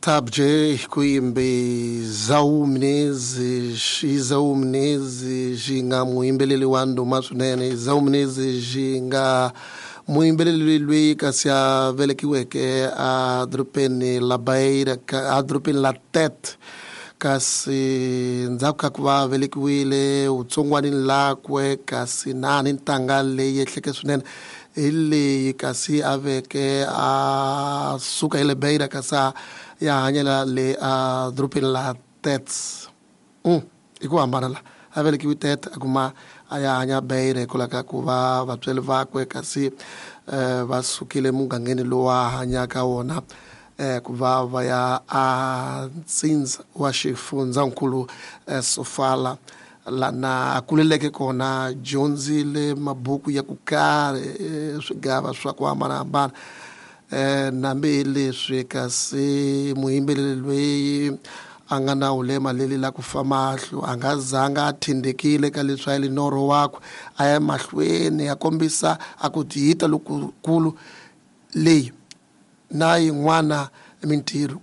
Master J ku yimbe Zau Menezes, Zau Menezes nga muyimbeleri wa ndhuma swinene. Zau Menezes nga muyimbeleri loyi kasi a velekiweke a dorobeni la Beira, a dorobeni la Tete, kasi ndzhaku ka ku va velekiwile vutsongwanini lakwe, kasi na ni ntanga leyi ehleke swinene hi leyi kasi a veke a suka hi le Beira kasi a ya hanyela le a dorobeni la Tete. Hi ku hambana la a velekiwe Tete a kuma a ya hanya Beira hikwalaho ka ku va vatswari vakwe kasi va sukile mugangeni lowu a hanyaka wona, ku va va ya a ntsindza wa xifundzankulu Sofala, lana a kuleleke kona, dyondzile mabuku ya ku karhi, swigava swa ku hambanahambana. Nambi leswi kasi muyimbeleri loyi a nga na ulema leli la ku fa mahlo a nga zanga a tindekile ka leswi a li norho wakwe, a ya mahlweni a kombisa a ku tiyita lokukulu leyi na yin'wana mintirho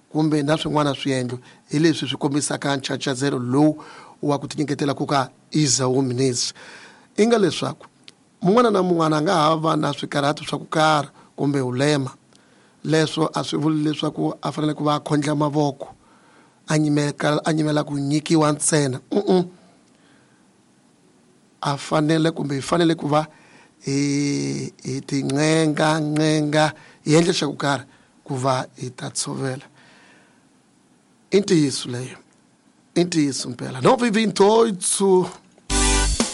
kumbe na swin'wana swiendlo hi leswi swi kombisaka nchachazelo lowu wa ku tinyiketela ku ka Esau Menezes. I nga leswaku mun'wana na mun'wana a nga ha va na swikarhato swa ku karhi kumbe ulema, leswo a swi vuli leswaku a fanele ku va a khondla mavoko a nyimela ku nyikiwa ntsena. A fanele kumbe hi fanele ku va hi tinqenga nqenga hi endla xa ku karhi ku va hi ta tshovela. I ntiyiso leyo, i ntiyiso mpela. 9:28.